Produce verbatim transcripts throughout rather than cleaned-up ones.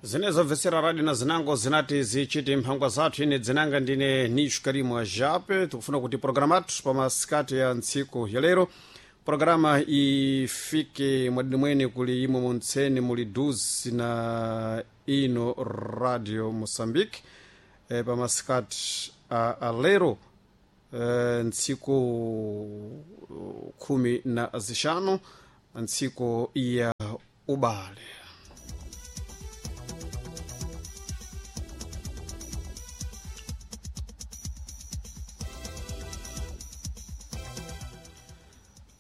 Zinezo bvesera radio na zinango zinati zichiti mphangwa zathu. Ine dzinanga ndine Nishu Karimu Ajape. Tikufuna kuti programa athu pa masikati ya ntsiku ya lero programa ifike mwadini mwene kuli imwe muntseni muli duzi na ino Radio Moçambique e, pa masikati a, a lero e, ntsiku khumi na zixanu, ntsiku ya ubale.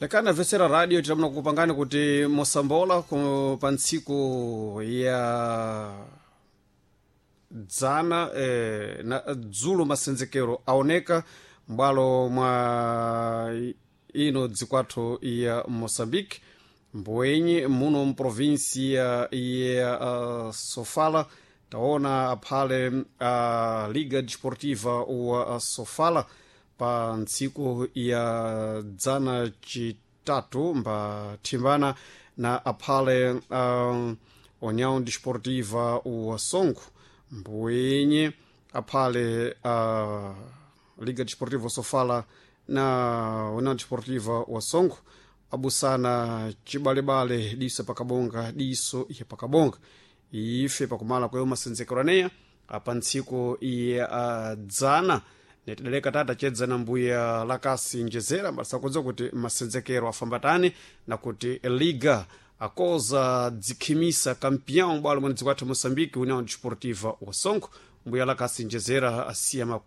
Lekana vesera radio tilamuna kukupangani kuti mosambola ku- pa ntsiku ya dzana eh, na dzulo masenzekero aoneka m'bwalo mwa ino dzikwathu ya Moçambique, mbwenyi muno mprovinsia ya uh, Sofala. Taona aphale a uh, Liga Desportiva wa Sofala pa ntsiku ya dzana chitatu mbathimbana na aphale um, União Desportiva wa Songo, mbwenye aphale uh, Liga Desportiva Sofala na União Desportiva wa Songo abusana chibalebale, diso pakabonga diso iye pakabonga. Ife pakumala kwayo masenzekero aneya apa ntsiku ya uh, dzana netideleka tata chedzana mbuya Lakasi Njezera mbalisakudziwa kuti masenzekero afambatani na kuti liga akoza dzikhimisa kampeão bwalo mwene dzikwathu Moçambique União Desportiva wa Songo. Mbuya Lakasi Njezera asiya ma-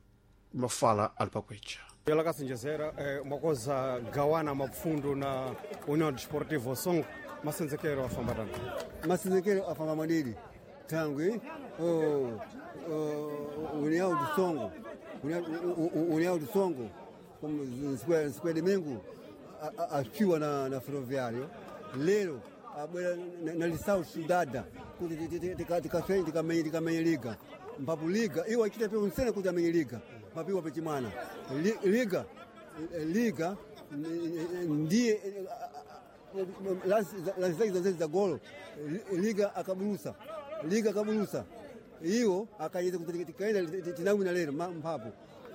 mafala ali pakwecha. Mbuya Lakasi Njezera, eh, mwakoza gawana mapfundo na União Desportiva wa Songo, masenzekero afambatani? Masenzekero afamba madidi tangwi oh, oh, União do Songo, União do Songo siku ya domingo afiwa na, na Ferroviário lero abwera na, na Lisau Sudada kuti tikafeni tikamenye tikamenye liga mpapu liga iwo achita pe unsene kuti amenye liga mpapu iwo pechimwana Li- liga liga ndiye lansi zake za golo liga akabulusa liga akabulusa iwo akayeza kuti tikaenda tinawina lero ma- mphapo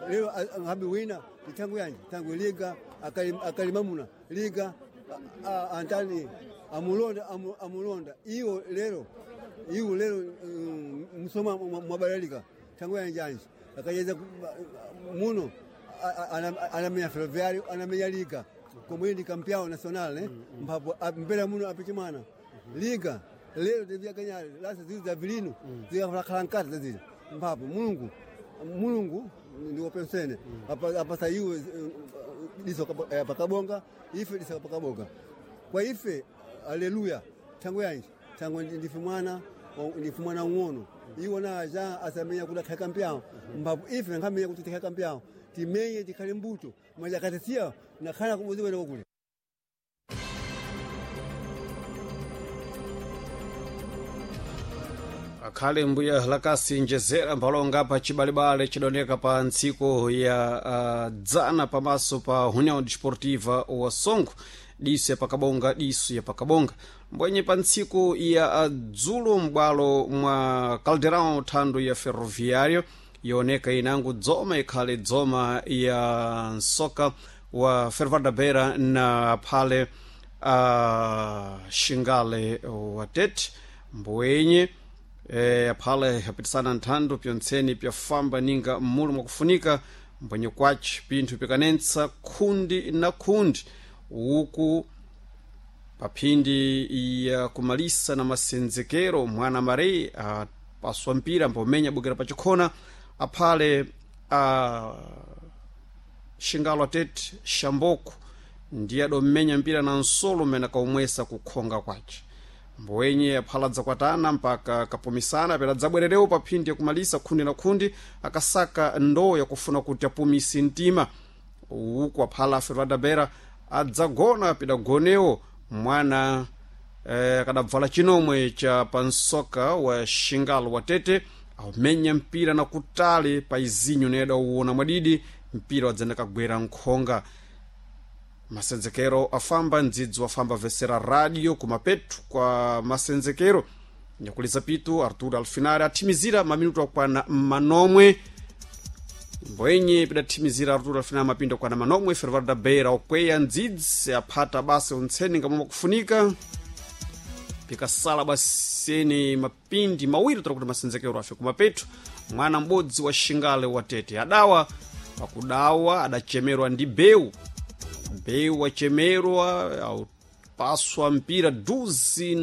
lero habi wina tangu yanji tangu liga akali- akalimamuna liga a- a- antani amulonda amu- amulonda iwo lero iwo lero mm, msoma mwabalalika tangu yanji anji akayeza ku- muno anamenya Ferroviário, anamenya liga komwe ndi campeão nacional, né? Mpapo mpera muno apichimana liga lero tevyakanyale lasa zili za vilino zikakhala nkati zazili mpapo Mulungu Mulungu ndiwopensene apasa iwe diso kapa- pakabonga ife diso pakabonga kwa ife aleluya tangu yanji tangu ndife mwana ndife mwana ung'ono iwo naja asamenya kuti akhale kampeão mpapo ife nkhamenya kuti tikhale kampeão timenye tikhale mbuto maja akatisiya nakhala kumudzi kwene kule. Akhale mbuya Lakasi Njezera mphalonga pa chibalebale chidoneka pa ntsiku ya uh, dzana pamaso pa União Desportiva wa Songo, diso ya pakabonga diso ya pakabonga. Mbwenye pa ntsiku ya uh, dzulo m'bwalo mwa Caldeirão thando ya Ferroviário yoneka inango dzoma ikhale dzoma ya nsoka wa Fervada Beira na phale uh, Xingale wa Tete. Mbwenye e, aphale apitisana nthando pyontseni pyafamba ninga mmulu mwakufunika mbwenye kwaci pinthu pikanentsa khundi na khundi uku paphindi ya kumalisa na masenzekero mwana marei apaswa mpira mbomenya bukira pachikhona aphale a Xingalo atete Xamboko ndiye adomenya mpira na nsolo mmene akaumwesa kukhonga kwace. Mbwenye aphala dzakwatana mpaka kapumisana pera dzabwererewo pa phindi yakumalisa khundi na khundi akasaka ndoo yakufuna kuti apumise mtima uku aphala a Beira adzagona pidagonewo mwana eh, akadabvala chinomwe cha pansoka wa Xingalo wa Tete aumenya mpira na kutali pa izinyo neda uwona mwadidi mpira wadzenda kagwera nkhonga. Masenzekero afamba ndzidzi wafamba vesera radio kumapetu kwa masenzekero. Nyakuliza pitu Artur Alfinari athimizira maminutu akwana manomwe mbwenye pidathimizira Artur Alfinari mapindu akwana manomwe. Ferroviário da Beira okweya ndzidzi aphata basi untseni ngamwe kufunika pikasala baseni mapindi mawiri tola kuti masenzekero afe kumapeto. Mwana m'bodzi wa Xingale wa Tete adawa pakudawa adachemerwa ndi beu beu wachemerwa aupaswa mpira duzi na